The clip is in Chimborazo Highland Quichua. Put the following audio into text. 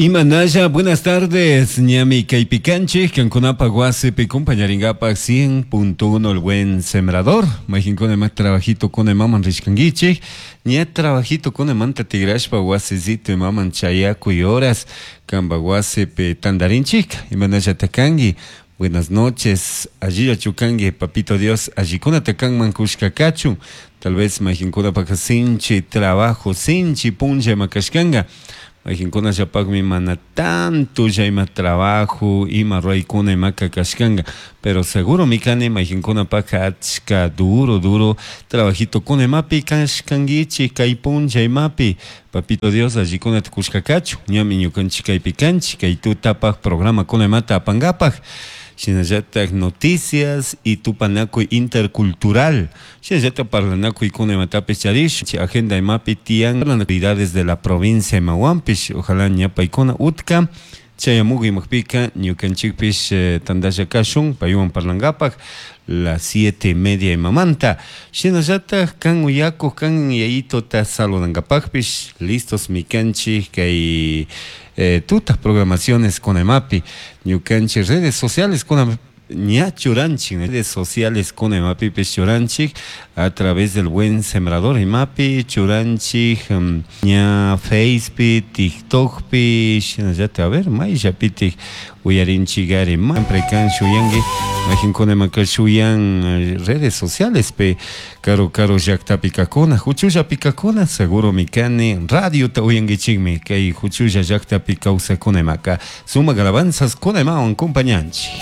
Imanalla, buenas tardes, ñami kaypi kanchik, kankunapak wasipi compañarinkapak 100.1 El Buen Sembrador. Mayqinkuna ima trabajito kuna imaman rishkankichik, ña trabajito kunamanta tigrashpa wasisito imaman chayakuy horas kanpak wasipi tantarinchik. Imanallata kanki, buenas noches, allillachu kanki, papito Dios, allikunata kanman kushka kachun. Tal vez mayqinkunapak sinchi trabajo, sinchi punlla ima kashkanka. Mayqinkunallapaqmi mana tanto ima trabajo, ima ruraykuna imaka kashkanka, pero seguromi kani mayqinkunapaqqa achka duro duro trabajitokuna imapi kashkankichik kay punlla imapi. Papito Dios allikunata kushka kachun, ñami ñukanchik kaypi kanchik, kay tutapaq programakuna imata apankapaq. Shinallatak noticias y tupanakuy intercultural. Shinallatak parlanakuykuna imatapish charish, agenda imapi tiyan actividades de la provincia imawanpish, ojalá ña paykuna utka chayamuk imapika ñukanchikpish tantalla kashun paywan parlankapak las 7:30 imamanta. Shinallatak kan uyakuq kan yayitota saludankapakpish listos mi kanchik kay tuta programaciones kuna imapi ñukanchik redes sociales kuna ña churanchik, redes sociales kuna imapipish churanchik a través del Buen Sembrador imapi churanchik, ña Facepi, TikTokpi, shinallatak a ver mayllapitik uyarinchikari, siempre kan shuyanki mayqinkuna imaka shuyan redes socialespi karu karu llaktapi kakuna, huchullapi kakuna, seguromi kani radiota uyankichikmi kay huchulla llaktapi kawsakuna imaka sumak alabanzas kuna imawan compañanchik.